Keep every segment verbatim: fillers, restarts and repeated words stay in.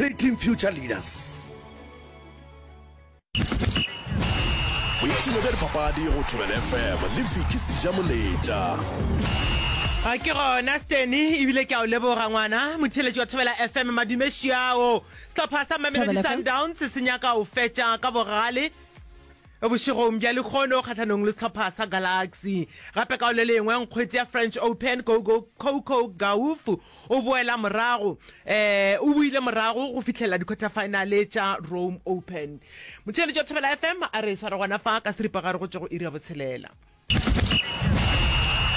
Creating future leaders. Boipshino bja dipapadi go Thobela F M le Vicky Sejamoletša. A ke gona Steny, ebile ke a o leboga ngwana motheeletši wa Thobela F M. Madume šiao. Sehlopha sa Mamelodi Thobela F M. Sundowns se nyaka o fetša ka bogale bošegong bja lekgono kgahlanong le sehlopha sa Galaxy. Gape ka le lengwe, nkgwete ya French Open Coco Coco Gauff o boela morago eh o boile morago go fihlela di-quarter final tša Rome Open. Motheeletši wa Thobela F M, a re sware gona fa ka seripagare go tšwa go iri ya botshelela.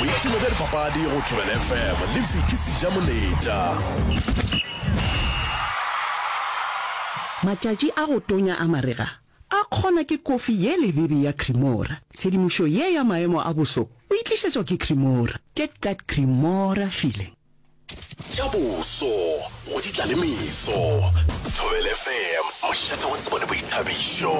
Boipshino bja dipapadi go Thobela F M le Vicky Sejamoletša. Matšatši a go tonya a marega a kgona ke kofi ye lebebe ya Cremora. Tshedimošo ye ya maemo a boso o e tlišetšwa ke Cremora. Get that Cremora feeling. Tša boso go di tla le meso. Thobela F M, mošate wa tsebo le boithabišo.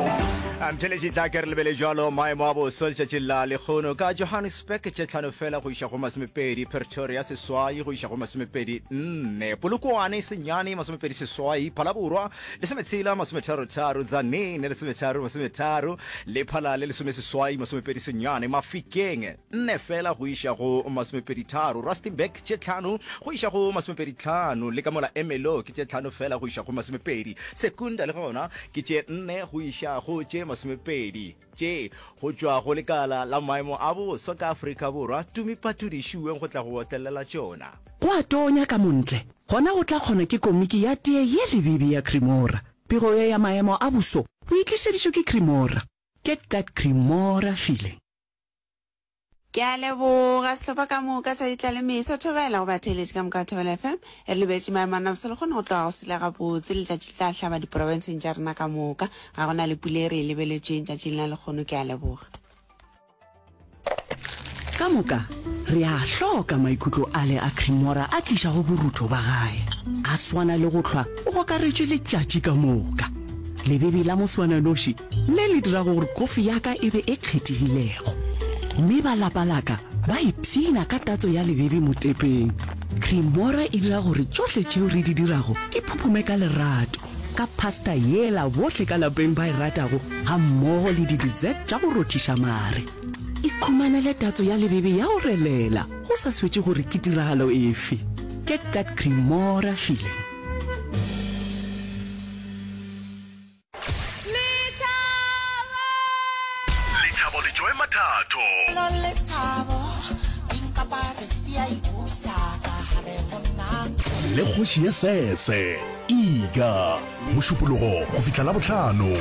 Mtheletši, tla ke re lebele jalo maemo a boso letšatšing la lekgono. Ka Johannesburg tše tlhano fela go iša go masomepedi, Pretoria seswai go iša go masomepedi nne, Polokwane senyane masomepedi seswai, Phalaborwa lesometshela masometharo-tharo, Tzaneen lesometharo masometharo, Lephalale lesomeseswai masomepedi senyane, Mafikeng nne fela go iša go masomepedi tharo, Rustenburg tše tlhano go iša go masomepedi tlhano, le ka mola Ermelo ke tše tlhano fela go iša go masomepedi, Secunda le gona ke tše nne go iša go tše masomepedi. Tše go tšwa go lekala la maemo a boso ka Afrika Borwa, Tumi Phatudi šiweng go tla go otlelela tšona. Go a tonya ka montle, gona go tla kgona ke komiki ya tee ye lebebe ya Cremora. Pego ye ya maemo a boso o e tlišeditšwe ke Cremora. Get that Cremora feeling. Ke a leboga sehlopha ka moka sa ditlalemeso. Thobela go batheeletši ka moka ba Thobela F M. Re lebetše maemo a nafso le kgone go tloga go sele gabotse. Letšatši le tla hlaba diprofenseng tša rena ka moka. Ga go na le pula e re e lebeletšeng tšatšing la lekgono. Ke a leboga. Ka moka re a hloka maikutlo ale a Cremora a tlišago borutho ba gae. A swana le go hlwa o gokaretšwe letšatši ka moka. Lebebe la moswananoši le le dirago gore kofi ya ka e be e kgethegilego. Mme ba lapa la ka ba ipshina ka tatso ya lebebe motepeng. Cremora e dira gore tšohle tšeo re di dirago di phuphume ka lerato, ka pasta yela bohle ka lapeng ba e ratago gammogo le di-dessert tša go rothiša mare. Ikhumanele tatso ya lebebe ya go relela go sa swetše gore ke tiragalo efe. Get that Cremora feeling. Lethabo! Lethabo le Joy Mathatho. Lethabo, di a ipusa ka gare go nna. Le kgoši ya sese, Iga. Mošupologo go fihla Labohlano